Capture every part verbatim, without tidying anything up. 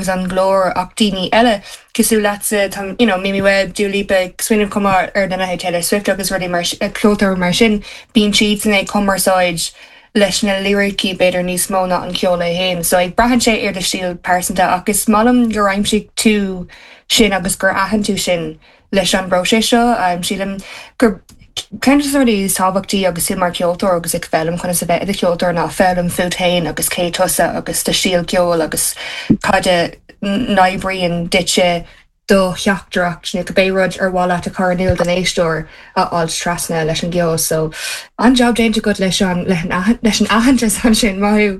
an glór ach daoine eile cosúil leatsa tá you know, Mimi Webb, Dua Lipa, smaoiním chomh maith ar na Taylor Swift agus rudaí mar ceoltóirí mar sin bíonn siad san ag cumarsáid leis na lyricí b'fhéidir níos mó ná an ceol é féin. So ag braitheann sé ar do stíl pearsanta agus is maith liom gur aimsigh tú sin agus gur aithin tú sin leis an bpróiseas seo um, sílim gur ceann de na rudaí is tábhachtaí agus tú mar ceoltóir agus ag foghlaim conas a bheith i do cheoltóir ná foghlaim fút féin agus cé tusa agus do stíl ceoil agus cad a n-oibríonn duitse do theachtaireacht nó cibé rud ar mhaith leat a chur in iúl don éisteoir a fháil trasna leis an gceol so an-jab déanta agat leis an leis an aitheantas ansin maith thú.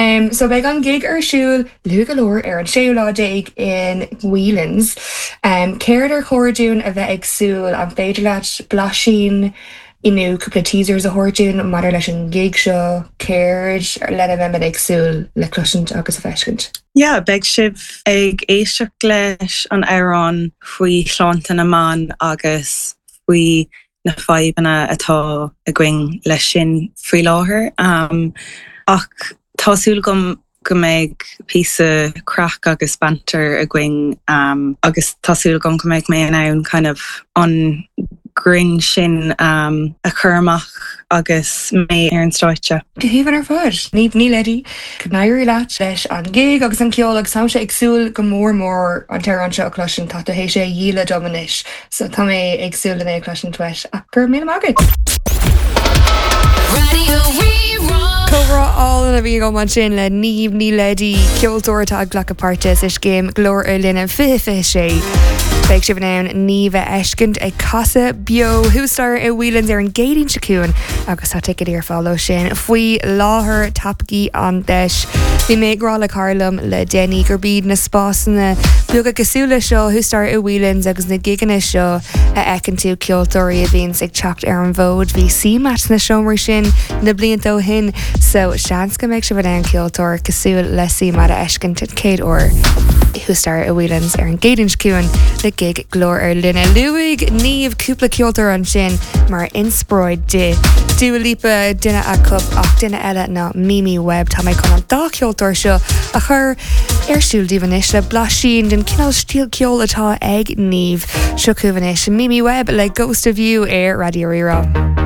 Um, so beidh an gig ar siúl luath go leor ar an séú lá déag in Whelan's. Um, Céard ar chóir dúinn a bheith ag súil an féidir leat blaisín nó cúpla teasers a thabhairt dúinn maidir leis an gig seo céard lena mbeimid ag súil le cloisint agus a feiscint. Yeah, beidh sibh ag éisteacht leis an amhrán faoi shláinte na mban agus faoi na fadhbanna atá againn leis sin faoi láthair. Um, ach tá súil agam go mbeidh píosa craic agus banter againn um, agus tá súil agam go mbeidh mé in ann kind of an grinn sin um, a chur amach agus mé ar an stáitse. Go haoibhinn ar fad Niamh Ní Leddy go n-éirí leat leis an gig agus an ceol agus táimse ag súil go mór mór an t-amhrán seo a chloisint tá tú théis é a dhíol dom anois, so tá mé ag súil lena chloisint uait ach gur mí agad. Radio Rí-Rá. Comhrá álainn a bhí agam ansin le Niamh Ní Leddy ceoltóir atá ag glacadh páirte sa scéim Glór ar Line fiche fiche sé. Beidh sibh in ann Niamh a fheiscint ag casadh beo thuas staighre i Whelan's ar an gCéadaoin seo chugainn agus tá ticéid ar fáil sin faoi láthair tapaigh an deis. Bhí mé ag rá le cara liom le déanaí gurb iad na spásanna beaga cosúil le seo thuas staighre i Whelan's agus na gigeanna seo a fheiceann tú ceoltóirí a bhíonns ag teacht ar an bhfód bhí CMAT na seomraí sin na blianta ó shin so seans go mbeidh sibh in ann ceoltóir cosúil le CMAT a fheiscint an chéad uair. Thuas staighre i Whelan's ar an gCéadaoin seo chugainn le gig Glór ar Line luaigh Niamh cúpla ceoltóir ansin mar inspioráid di. Dua Lipa duine acu ach duine eile ná Mimi Webb tá mé chun an dá cheoltóir seo a chur ar siúl daoibh anois le blaisín den cineál stíl ceoil atá ag Niamh seo chugaibh anois Mimi Webb le Ghost of You ar Raidió Rí-Rá.